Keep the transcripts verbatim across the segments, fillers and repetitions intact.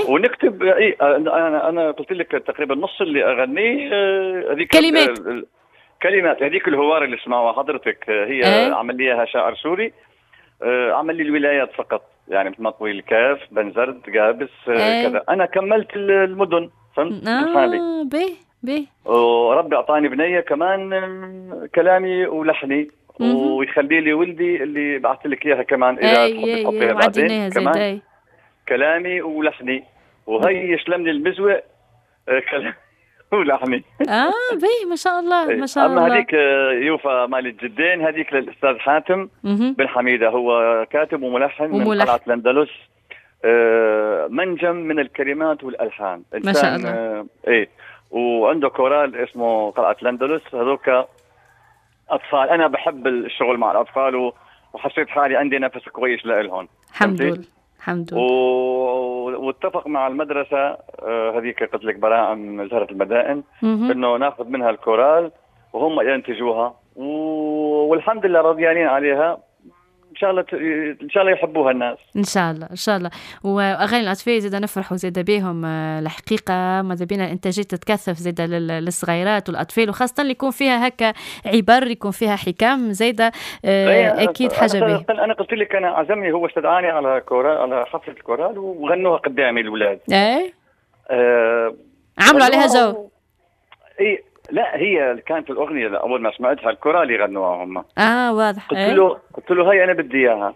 ونكتب. اي انا انا قلت لك تقريبا نص اللي اغنية هذيك كلمات، كلمات هذيك الهوار اللي سمعوها حضرتك هي ايه؟ عمل لي اياها شاعر سوري، عمل لي الولايات فقط، يعني مثل ما تقولي الكاف، بنزرت، قابس، ايه؟ كذا. انا كملت المدن، فهمت؟ اه به به. وربي اعطاني بنيه كمان كلامي ولحني، ويخلي لي ولدي اللي بعثت لك اياها كمان اذا تحب تحطيها بعدين كمان كلامي ولحني، وهي يسلم لي المزوق كلامي ولحني. اه به ما شاء الله ما شاء الله. اما هذيك يوفا مال الجدين هذيك للاستاذ حاتم بن حميده، هو كاتب وملحن, وملحن من قلعه الاندلس، آه منجم من الكلمات والالحان ما شاء الله. آه ايه وعنده كورال اسمه قلعه الاندلس، هذوك اطفال. انا بحب الشغل مع الاطفال وحسيت حالي عندي نفس كويس لإلهم. الحمد لله الحمد لله. و... واتفق مع المدرسة هذيك قلت لك براعم زهره المدائن انه ناخذ منها الكورال وهم ينتجوها، و... والحمد لله رضيانين عليها. ان شاء الله ت... ان شاء الله يحبوها الناس ان شاء الله ان شاء الله. واغاني الاطفال زاد نفرحوا زاد بهم الحقيقة، ماذا بينا الانتاجات تتكثف زاد للصغيرات والاطفال، وخاصة اللي يكون فيها هكا عبر، يكون فيها حكم زاده اكيد حاجة به. انا قلت لك انا عزمني هو استدعاني على كورال، على حفلة الكورال، وغنوها قدامي الاولاد. ايه آه... عملوا عليها جو. اي لا هي كانت الاغنية اول ما سمعتها الكورال يغنوها هم. اه واضح. قلت له قلت له هاي انا بدي اياها.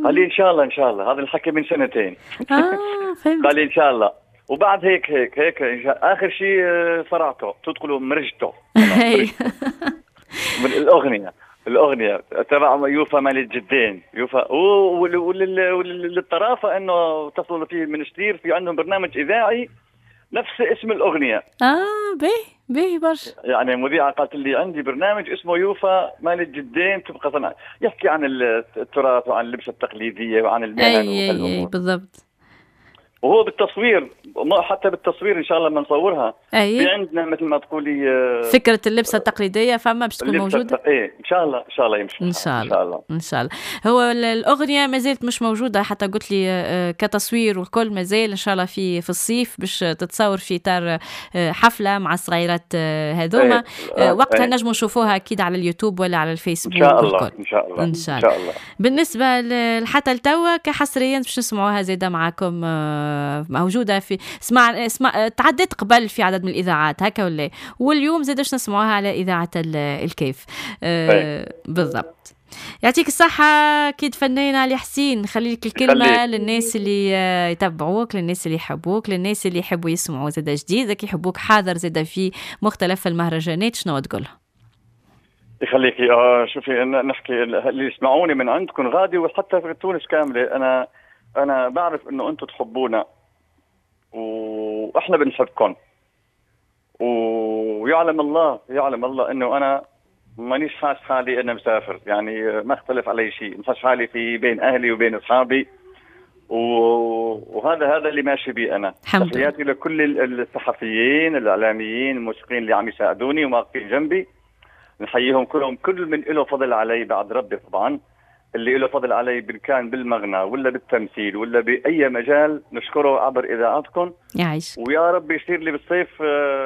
قال لي ان شاء الله ان شاء الله، هذا الحكي من سنتين. اه فهمت. قال لي ان شاء الله، وبعد هيك هيك هيك إن شاء... اخر شيء صرعته تدخلوا مرجته من الاغنية، الاغنية تبع يوفا مال الجدين يوفا. وللطرافه انه اتصلوا فيه من شتير، في عندهم برنامج اذاعي نفس اسم الاغنية. اه به به برشا. يعني مذيعه قالت لي عندي برنامج اسمه يوفا مال الجدين، تبقى صنع يحكي عن التراث وعن اللبسه التقليدية وعن المهن. اي اي, أي بالضبط. وهو بالتصوير، حتى بالتصوير ان شاء الله لما نصورها أي. في عندنا مثل ما تقولي فكرة اللبسه التقليدية فما باش تكون موجودة. ايه ان شاء الله ان شاء الله يمشي ان شاء الله ان شاء الله ان شاء الله. هو الاغنية ما زالت مش موجودة، حتى قلت لي كتصوير والكل ما زال، ان شاء الله في في الصيف باش تتصور في اطار حفلة مع الصغيرات هذوما. إيه. وقتها إيه. نجموا نشوفوها اكيد على اليوتيوب ولا على الفيسبوك ان شاء الله ان شاء الله ان شاء الله, إن شاء الله. بالنسبة لحتى لتوا كحصريا باش نسمعوها زاده معاكم، موجودة في اسمع اسمع تعدت قبل في عدد من الاذاعات هكا ولا، واليوم زاد باش نسمعوها على اذاعة الكيف. أه بالضبط. يعطيك الصحة أكيد فنان علي حسين، خلي لك الكلمة للناس اللي يتبعوك، للناس اللي يحبوك، للناس اللي يحبوا يسمعوا زاد جديدك، يحبوك حاضر زاد في مختلف المهرجانات، شنو تقولها؟ يخليكي. آه شوفي نحكي اللي يسمعوني من عندكم غادي وحتى في تونس كاملة، أنا أنا بعرف إنه أنتم تحبونا وإحنا بنحبكم، ويعلم الله يعلم الله إنه أنا مانيش حاس حالي أنا مسافر، يعني ما اختلف علي شيء، حاس حالي في بين أهلي وبين أصحابي، وهذا هذا اللي ماشي بيه أنا. تحياتي لكل الصحفيين الإعلاميين الموسيقيين اللي عم يساعدوني وواقفين جنبي، نحييهم كلهم، كل من له فضل علي بعد ربي طبعا، اللي له فضل علي كان بالمغنى ولا بالتمثيل ولا بأي مجال نشكره عبر إذاعتكم. يعيش. ويا رب يصير لي بالصيف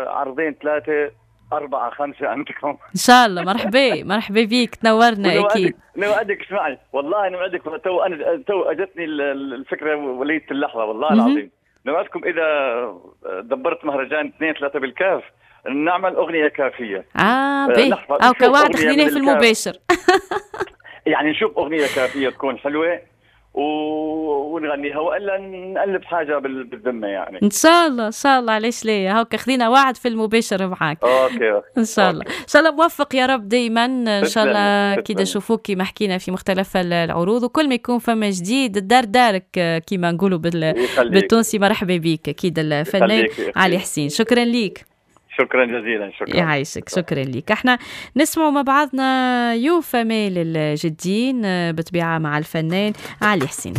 عرضين ثلاثة أربعة خمسة عندكم إن شاء الله. مرحبا مرحبا بيك، تنورنا أكيد. نوعدك، اسمعي والله نوعدك، تو أنا تو أجتني الفكرة وليت اللحظة والله العظيم، نوعدكم إذا دبرت مهرجان اثنين ثلاثة بالكاف نعمل أغنية كافية. آه بيه أو كوعد خذيناه في المباشر. يعني نشوف أغنية كافية تكون حلوة و... ونغنيها، وإلا نألف حاجة بالذمة يعني. إن شاء الله إن شاء الله، علاش ليه، هاكا خذينا وعد في المباشر معاك. okay إن شاء الله إن شاء الله موفق يا رب دايما إن شاء الله. كي نشوفوك كيما حكينا في مختلف العروض، وكل ما يكون فما جديد الدار دارك كيما نقولوا بال... بالتونسي. مرحبا بك أكيد الفنان علي حسين، شكرا ليك. شكرا جزيلا. شكرا يعيشك، شكرا لك. احنا نسمع مع بعضنا يوفا مال الجدين بطبيعة مع الفنان علي حسين.